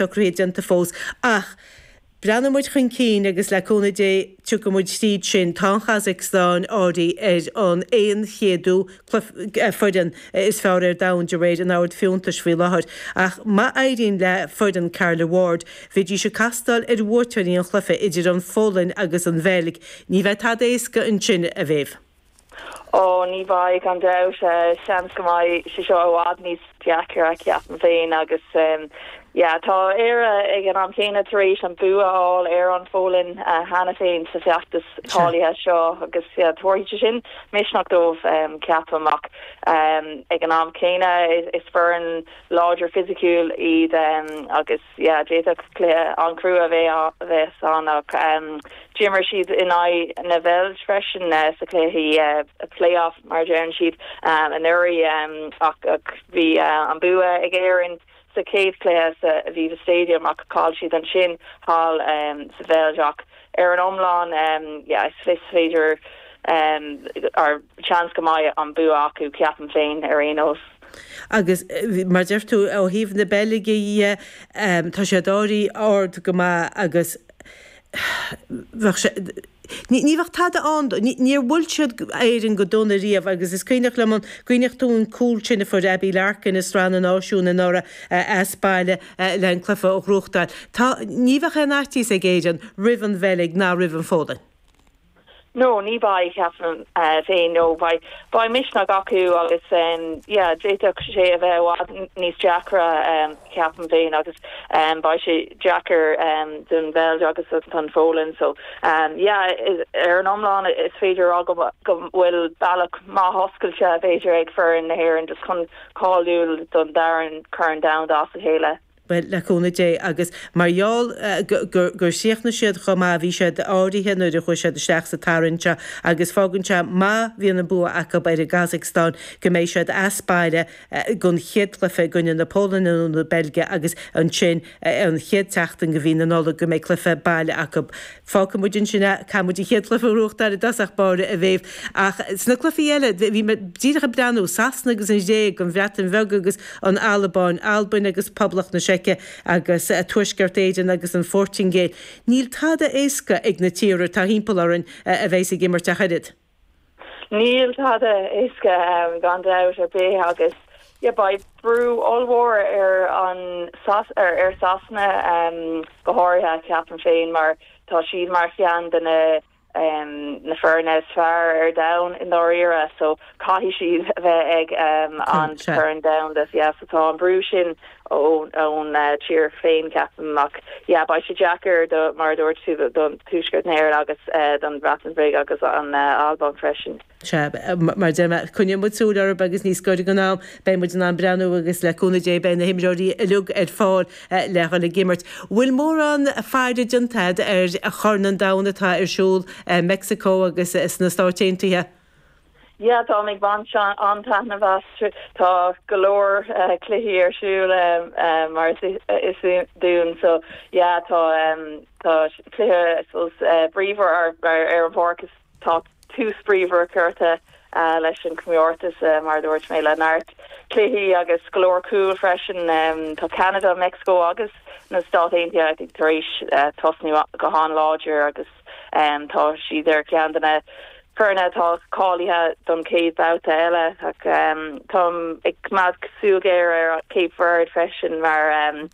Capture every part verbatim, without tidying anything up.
socruithe déanta fós ach breathnóidh muid chun cinn agus le cúnamh Dé tiocfaidh muid tríd sin. Tá an Chasacstáin áirithe ar an aon chéadú foireann is fearr ar domhan de réir an ord fiúntais faoi láthair. Ach má éiríonn le foireann Carla Ward, bheidís ag castáil ar bhuaiteoirí an chluiche idir an Pholainn agus an Bheilg. Ní bheidh tada éasca ansin a Mhéabh. Ó ní bheidh gan dabht seans go mbeidh sé seo i bhfad níos deacra ceapaim féin agus um, yeah, tá Éire ag an am céanna tar éis an bua a fháil ar an Pholainn uh, cheana féin sa feachtas cáilithe seo agus yeah, tabharfaidh sin misneach dóibh um, ceapaim ach um, ag an am céanna is, is foireann láidir fisiciúil iad um, agus yeah, d'fhéadfadh cluiche an-chrua bheith bheith ann ach um, D'imir siad in aghaidh na Beilge freisin uh, sa chluiche uh, playoff mar deireann siad um, anuraidh um, ach, ach bhí uh, an bua ag Éirinn sa chéad chluiche sa Aviva Stadium ach chaill siad ansin thall um, sa Bheilg ach ar an iomlán um, yeah, is féidir um, ar chance go mbeidh an bua acu ceapaim féin ar aon nós. Agus mar deir tú ó thaobh na Beilge um, tá sé dáirí ard go maith agus Ní ní bheadh tada ann níor bhuail siad Éirinn go dona riamh agus is cuimhneach liom an cuimhneach tú an cúl sin a fuair Abbie Larkin i Sraith na Náisiún anuraidh as baile le an cluiche a ghnóthachtáil. Tá ní bheadh aon fhaitíos ag Éirinn roimh an Bheilg ná roimh an Pholainn. No, ní bheidh ceapaim uh, féin nó beidh beidh misneach acu agus um, yeah, d'fhéadfadh sé a bheith i bhfad níos deacra um, ceapaim féin agus um, beidh sé deacair um, don Bheilg agus don Pholainn so um, yeah, ar an iomlán is féidir go go bhfuil bealach maith oscailte b'fhéidir ag foireann na hÉireann just chun cáiliú don dara Corn Domhanda as a chéile. Well le cúnamh Dé agus mar gheall gur chríochnaigh siad chomh maith bhí siad áirithe nuair a chuaigh siad isteach sa tarraingt seo agus fágann sé má bhíonn an bua acu ar an gCasacstáin go mbeidh siad as baile don chéad chluiche i gcoinne na Polainne nó na Beilge agus ansin an chéad tseachtain de mhí na Nollag go mbeidh cluiche baile acu. Fágfaidh muid ansin caithfidh muid an chéad chluiche a ghnóthachtáil i dtosach báire a Mhéabh ach sna cluichí eile bhí díreach ag breathnú Sasana agus an Ghréig an Bhreatain Bheag agus an Albáin, Albain agus Poblacht na Seice agus Tuaisceart Éireann agus an Phortaingéil. Níl tada éasca ag na tíortha atá timpeall orainn a bheas ag imirt ach oiread. Níl tada éasca um, gan dabht ar bith agus yeah, beidh brú ollmhór ar an ar, ar Sasana um, go háirithe ceapaim féin mar tá siad mar cheann de na um, na foirne is fearr ar domhan i ndáiríre so caithfidh siad a bheith ag um, an Corn Domhanda yeah, so tá an brú sin ón ón uh, tír féin ceapaim ach yeah, beidh sé deacair do mar dúirt tú don Tuaisceart Éireann agus uh, don Bhreatain Bheag agus an uh, Albain freisin. Se mar coinneoidh muid súil orthu agus níos gaire don am beidh muid in ann breathnú agus le cúnamh Dé beidh na himreoirí uilig ar fáil le dhul ag imirt. Bhfuil mórán faire déanta ar a Chorn an Domhain atá ar siúl Mexico agus sna Stáit Aontaithe? Ja tá ag baint an-taitneamh as tá go leor uh, cluichí ar siúl um, um, mar is, is dún so ja tá um, tá cluiche uh, bríomhar ar ar, ar an bpáirc tá tús bríomhar curtha uh, leis an comórtas uh, mar dúirt mé le neart cluichí agus go leor cúl freisin um, tá Canada, Mexico agus na Stáit Aontaithe tar éis uh, tosnú go han-láidir agus um, tá siad ar ceann de na foirne atá cáilithe don chéad bhabhta eile ach um, tá ag coimeád súil ghéar ar Cape Verde freisin mar um,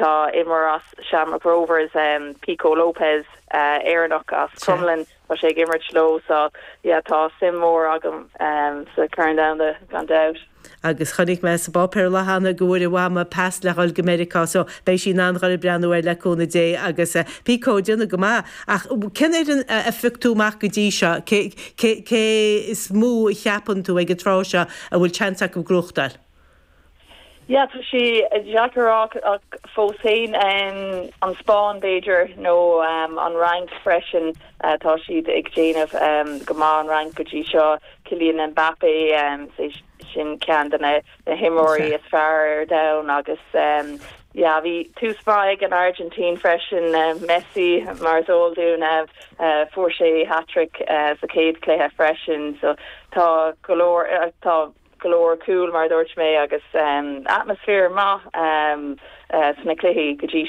tá imreoir as Shamrock Rovers um, Pico Lopes uh, Éireannach as Crumlin tá sé ag imirt leo so yeah, tá suim mór agam um, sa Chorn Domhanda gan dabht. agus chonaic mé sa bpáipéar le hana go bhfuair a mhama pas le dhul go Meiriceá so beidh sí in ann dhul ag breathnú air le cúnamh Dé agus uh, Pico déanamh go maith ach cén fhoireann a phioc tú amach go dtí seo cé cé is mó a cheapann tú ag an tráth seo a bhfuil seans acu gnóthachtáil. Ja tá sé deacair ach fós féin um, an Spáinn b'fhéidir nó um, an Fhrainc freisin uh, tá siad ag déanamh um, go maith an Fhrainc go dtí seo Kylian Mbappé um, sin ceann de na na himreoirí is fearr ar domhan agus um, ja bhí tús maith an Argentina freisin uh, Messi mar is eol dúinn uh, uh, fuair sé hat-trick uh, sa chéad chluiche freisin so tá go leor uh, tá go leor cúl mar dúirt mé agus um, atmaisféar maith um, uh, sna cluichí go dtí